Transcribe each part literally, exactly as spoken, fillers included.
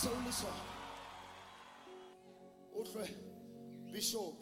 Se o le sona. Utlwe bishop.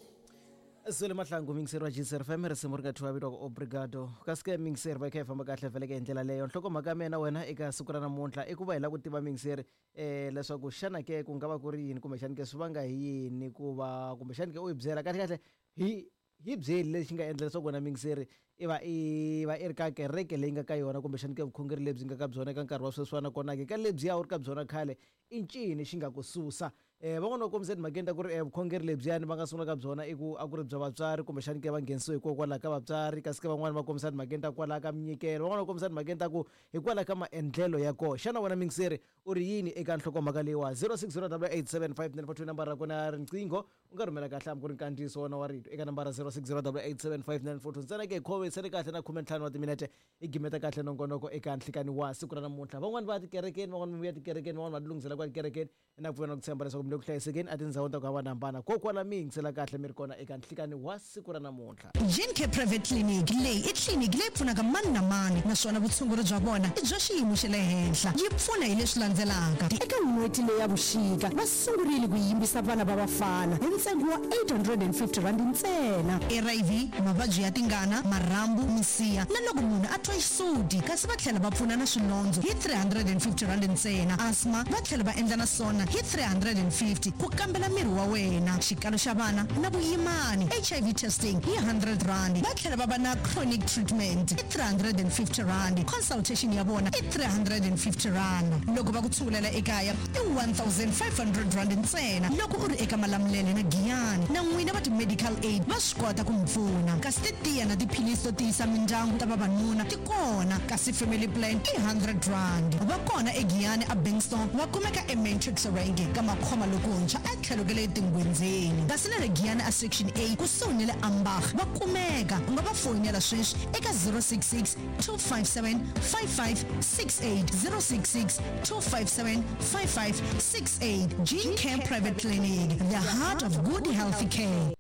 Zwele Mahlangu mingiseri wa G C F M risimu ri nga thyiwa vito obrigado kasi ke mingiseri va kha hi famba kahle vhele ke hi ndlela leyo nhlokomhaka ya mina wena eka siku ra namuntlha i ku va hi lava ku tiva mingiseri um leswaku xana ke ku nga va ku ri yini kumbexani ke swi vanga hi yini ku va kumbexani ke u hi byela kahle kahle hi hi byeli lexi nga endla leswaku wena mingiseri i va i va i ri ka kereke leyi nga ka yona kumbexani ke vukhongeri lebyi nga ka byona eka nkarhi wa sweswiwana kona ke ka lebyiya u ri ka byona khale i ncini xi nga ku susa um van'wana va kombisa timhakeni ta ku ri vukhongeri lebyiyani va nga sungula ka byona i ku a ku ri bya vatswari kumbexani ke va nghenisiwe hikokwalaho ka vatswari kasi ke van'wani va kombisa timhakeni ta kwalaho ka minyikelo van'wana va kombisa timhakeni ta ku hikwalaho ka maendlelo ya kona xana wena mingiseri u ri yini eka nhlokomhaka leyiwa zero six zero double eight seven five nine four two nambara ra kona ya riqingho u nga rhumela kahle hambi ku ri nkandziyiso wona wa rito eka nambara zero six zero double eight seven five nine four two ntsena ke hi khomisele kahle na khumentlhanu wa timinete i gimeta kahle nongonoko eka nhlikani wa siku ra namuntlha van'wani va ya tikerekeni van'wani va ya tikerekeni van'wani va tilunghisela kwa tikerekeni na ku pfuna ku tshemba leswaku mi le ku hlayisekeni etindhawini ta ku hambanahambana kokwala mi yingisela kahle mi ri kona eka nhlikani wa siku ra namuntlha. Gene Private Clinic leyi i tliliniki leyi pfunaka mani na mani naswona vutshunguri bya vona i bya xiyimo xa le henhla yi pfuna hi leswi landzelaka. Eka n'hweti leya vuxika va sungurile ku yimbisa vana va vafana hi ntsengo wa eight hundred and fifty rand ntsena. R I V, mavabyi ya tingana, marhambu, misiha na loko munhu a twa xisuti kasi va tlhela va pfuna na swilondzo hi three hundred and fifty rand ntsena. Asthma va tlhela va endla na swona hi three hundred and fifty ku kambela miri wa wena, xikalo xa vana na vuyimani, H I V testing hi hundred rand va tlhela va va na chronic treatment hi three hundred and fifty rand consultation ya vona i three hundred and fifty rand loko va ku tshungulela ekaya i one thousand five hundred rand ntsena loko u ri eka Malamulele na Giyani na n'wina va ti-medical aid va swi kota ku mi pfuna kasi titiya na tiphilisi to tiyisa mindyangu ta vavanuna ti kona kasi family plan i hundred rand va kona eGiyani a Bankston va kumeka eMatrix Range ka makhoma lokuntshwa a tlhelo ka le tingwendzeni kasi na le Giyani a section A kusuhi ni le Ambach va kumeka u nga va foyinela sweswi eka zero six six two five seven five five six eight zero six six two five seven five five six eight. Gene Care Private Clinic, the heart of good healthy care.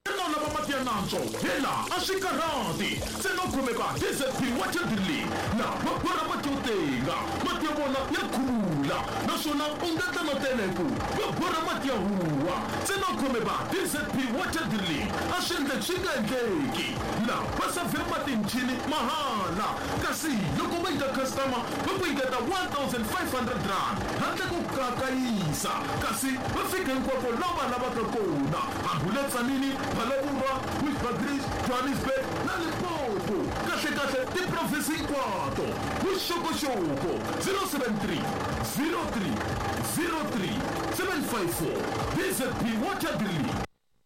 Xana u lava mati ya nantswo? Hela a swi karhati ntsena u khomeka D Z P Water Drilling na va borha mati yo tenga mati ya vona ya khulula naswona u nga tla na tele ku va borha mati ya huwa ntsena u khomeka D Z P Water Drilling a swi endleki swi nga endleki la va savhe mati michini mahala kasi loko va nyika customer va ku nyiketa one thousand five hundred rand handle ko kakayisa kasi va fika hinkwako laha va lavaka kona hambi u le Tzaneen, Phalaborwa, Bushbuckridge, Johannesburg na Limpopo kahle kahle tiprovinsi hinkwato vuxokoxoko zero seven three zero three zero three seven five four D Z P Water Drilling.